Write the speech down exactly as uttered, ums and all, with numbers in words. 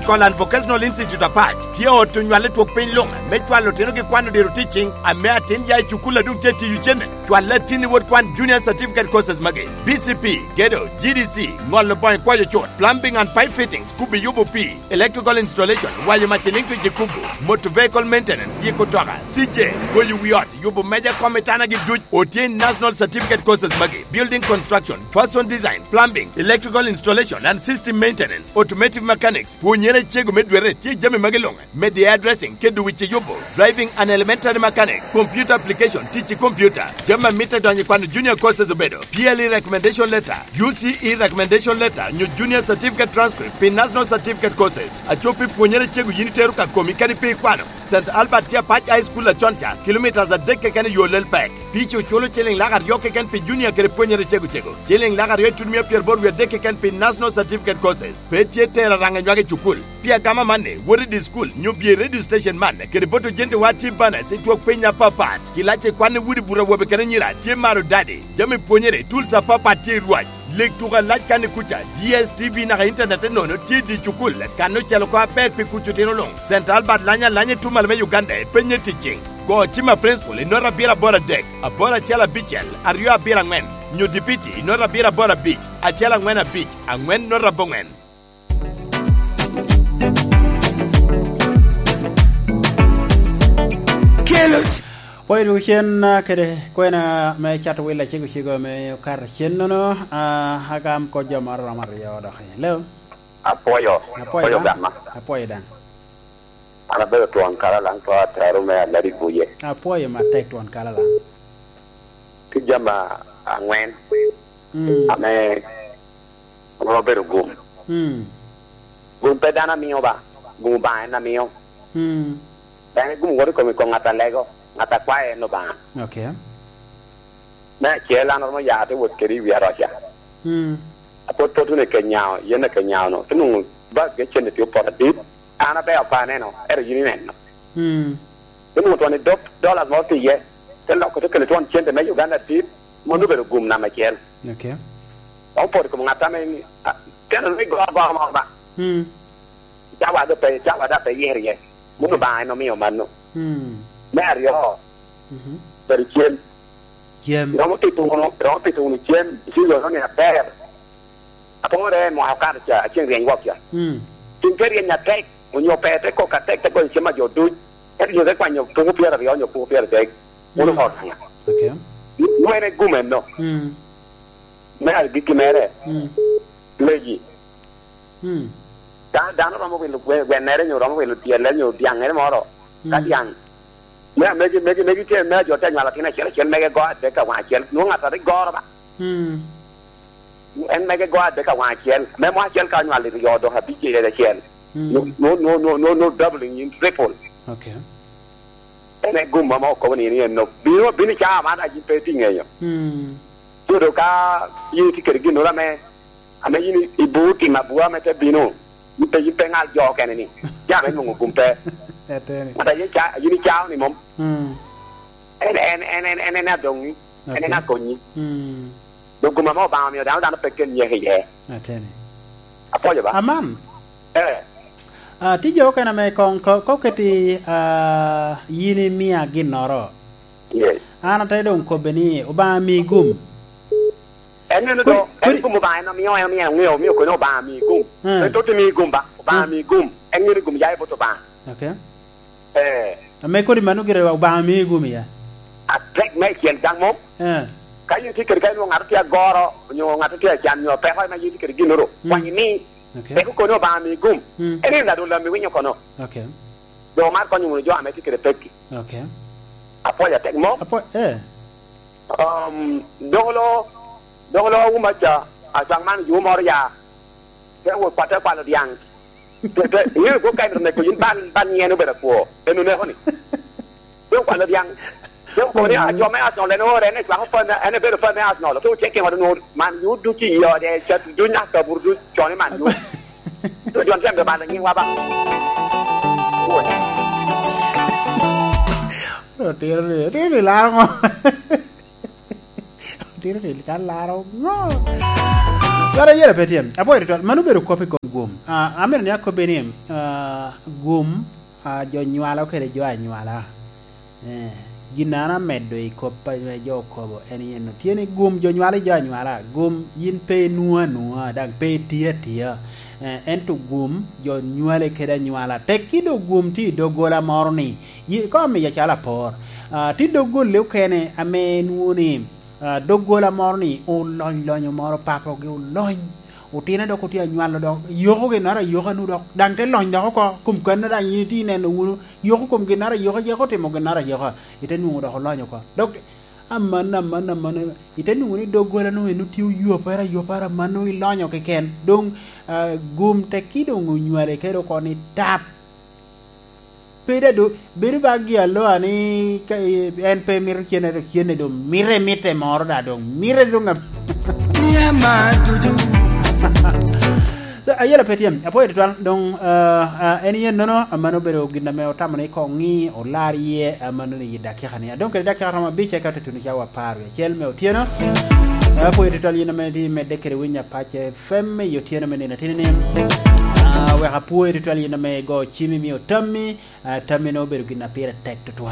Technical and Vocational Institute Apac tye ot onywal i twok piny luŋ me cwalo otinogi kwan odiro teaching ame atin ya i cukul a doŋ tye tiyo cene. Cwal latinni wot kwan Junior Certificate Courses magi: B C P, gedo, G D C, ŋolo boŋo i kwayo cut, plumbing and pipe fittings, kubo yubo pii, electrical installation, wayo mac i liŋ twic i kubo, motor vehicle maintenance, yiko toka, C J, goyo wi ot, yubo meja kom i tanagi duc. Otye i National Certificate Courses magi: building construction, fashion design, plumbing, electrical installation and system maintenance, automotive mechanics. Pwonyere cego me dwere tye i jami magi luŋ: media addressing kede wic i yubo, driving and elementary mechanics, computer application, tic i computer. Jami a mitte donyo i kwano junior courses obedo P L E recommendation letter, U C E recommendation letter, nyo junior certificate transcript pi National Certificate Courses. Aco pi pwonyere cego yin itero ka komi kadi pe ikwano. Saint Albert tye Apac High School acon ca, kilometres adek keken i yo Lelpek. Pici oculo ciliŋ lak aryo keken pi junior kede pwonyere cego cego, ciliŋ lak aryo itutumia pyeraboro wie adek keken pi National Certificate Courses. Pe tye tero araŋa nywak i cukul. Pi agama amanni, wot i di cukul, nyo bye i radio station man kede bot ojentewa tye banas i twok piny apapat. Kilac i kwan i udi buto awobe kede anyira tye maro dadi. Jami pwonyere, tools apapat tye i rwac. Lik tuko alac kan i kuca, D S T V naka internet enono tye i di cukul, kan ocel oko aber pi kuc otino luŋ. Saint Albert lany alanya i tumal me Uganda, penye ticing. Go cim a principal i nota abiro aboro adek, aboro acel abicel, aryo abiro aŋwen, nyo dipiti i nota abiro aboro abic, acel aŋwen abic, aŋwen nota aboŋwen. Kelo. Pwoyo dwogo cen, ah, kede kwena me cato wil acego cego ame okato cen-nono, ah, agam kop jo moro romo aryo dok. Hello? Apwoyo. Apwoyo Apwoyo daŋ. Gama. Apwoyo daŋ. An abedo twon kara laŋ to atero me aladi buye. Apwoyo matek twon kara laŋ. Tye jami aŋwen Mm. ame romo bedo gum. Mm. Gum pe dano amio ba, gum Obaŋa en amio. Mm. Dano gum wot i kom, i kom ŋat a lego, ŋat a kwayo en Obaŋa. Okay. Me acel, an oromo ya te wot kede i wi aroca. Mm. Apot pot wunu i Kenyao, yen i Kenyao-nu. Te nwoŋo bag me cente tye opot adit. An abe apa aneno, ento yin ineno. Mm. Te nwoŋo twon i dop dollars moro tye iye. Te loko te kelo twon cente me Uganda adit, mano obedo gum namba acel. Okay. Dok opot i kom ŋat ame ni, a, teno ni go agoro moro ba. Mm. Cawa do pe, cawa da pe yero iye. Mano Obaŋa en omio mano. Mm. Me aryo, Mhm. bedo cem. Cem. Iromo tito wunu, iromo tito wunu cem, iciro ni aber. Apore mwaka okato ca, aceng ryeny wok ca. Mm. Ceng te ryeny atek, onyo pe te kok atek, te goyo cem a jo duc. Ento jo te kwanyo puku pyeraryo onyo puku pyeradek. Wunu Mm. ot ŋa? Okay. Wene gumeno. Mm. Me agikki mere, Mm. leji. Mm. Ka dano romo wilo gwe-, gwennere nyo romo wilo tyelle nyo dyaŋŋere moro, ka Mm. dyaŋ, me, megi, megi, megi tye, me jo te nywalo atin acel acel, mege go adek ka waŋ acel, nwoŋo ŋat a rik goro ba. Mm. En mege go adek ka waŋ acel, me mo acel ka onywalo i ryo dok abic i acel. Mm. No, no, no, no, no, no doubling in triple. Okay. En e gum ame okobo ni en, en no. Bino, bino i cawa man, a yin pe itye ŋeyo. Mm. Kodo ka yin itye kede ginnoro ame, ame yin i-, ibur tim abura ame te bino, yin pe, yin pe ŋal jo okene ni, jam en nwoŋo gum pe. Ateni. Ŋat a yin ca-, yin icao ni mom. Mm. En, en, en, en, en, en adoŋi. En, en Okay. akonyi. Mm. Dok gum ame Obaŋa omio dano, dano pe ken nyeko iye. Ateni. Apwoyo ba. Aman. Eh. Ah, tye jo okene ame koŋ ko-, ko keti, ah, yin imia ginnoro. Yes. An ate doŋ kobbe ni, "Obaŋa mi gum." En meno Kodi, do, en kodi gum Obaŋa en omio, en omio, en omio, omio kono Obaŋa mi gum. Eh. En toti mi gum ba, Obaŋa Eh. mi gum. En meno gum ya i bot Obaŋa. Okay. Eh. Ame kodi mano gire Obaŋa mi gum ya. Atek me i tyen daŋ mom. Eh. Ka yin tye kede ka inwoŋo ŋat tye agoro, onyo ŋat tye acan, nyo peko ma yin tye kede ginnoro, Mm. kwany imi. Okay. Peko kono Obaŋa mi gum. Mm. En en adol lam iwinyo kono. Okay. Jo mar konyo wunu jo ame tye kede pekki. Okay. Apwoyo atek mo. Apwo-, eh. Um, dogolo, dogolo wuma ca, acwaŋ man ju moro ya. Te wot kwate kwalo dyaŋ. Te, te, iŋeo kwo ka en oneko yin bal, bal nyen obedo akwo. En oneko ni. Te okwalo dyaŋ. Te okobo ni, "Ah, jo me Arsenal en oore, en ecwako fan, en ebedo fan me Arsenal." Te ocek i ŋot onwoŋo Man U ducu i ode, cat ducu, nyaka kaburu ducu, con i Man U. Te jo tye balo nyiŋwa ba. Otiro ni, otiro ni laro ŋo? Otiro ni kan laro ŋo? Twara yere pe tye. Apwoyo tutwal. Mano obedo kop i kom Gum. Ah, amito ni akobbi ni, ah, gum, ah, jo nywalo kede jo anywala. Eh, gin an amedo i kop a jo okobo en yen, tye ni gum jo nywalo i jo anywala. Gum yin pe inwo anwoa, daŋ pe itye atia. Eh, ento gum jo nywale kede anywala. Tekki do gum tye i doggola moro ni, yi-, ka omiya calo apor. Ah, tye doggolle okene ame inwo ni, ah, doggola moro ni olony lonyo moro, papogi olony. Otino dok otye anywalo dok, yoko ginnoro ayoka nu dok, daŋ te lony dok oko, kom kanno daŋ yin itye ineno wunu, yoko kom ginnoro ayoka, yako otimo ginnoro ayoka, ite nwoŋo dok olony oko. Dok, amanno, amanno, amanno, ite nwoŋo ni doggola nu eno tye oyopere, ayopere, amanno ilonyo keken. Doŋ, ah, gum tekki doŋ onywale kede oko ni tap. Pe da do, bedo ba gi aloa ni ka, eh, en pe mito cene, dok cene do mite, mite moro da dong, mite dong ab-, Mia ma dudu. So, ayela pe tye, apwoyo tutwal, dong, ah, ah, en yen nono, amano obedo gin ame otamo ni koŋ ŋi, olar iye, amano ni i dakika ni. Adong kede dakika romo abic, eka tutuno cawa apar wie acel me otyeno. Apwoyo tutwal yin ame tye medde kede winyo Apac F M i otyeno me nino atini ni. Ah, wek apwoyo tutwal yin ame igo cimi, mio tammi, ah, tammi no obedo gin a pire tek tutwal.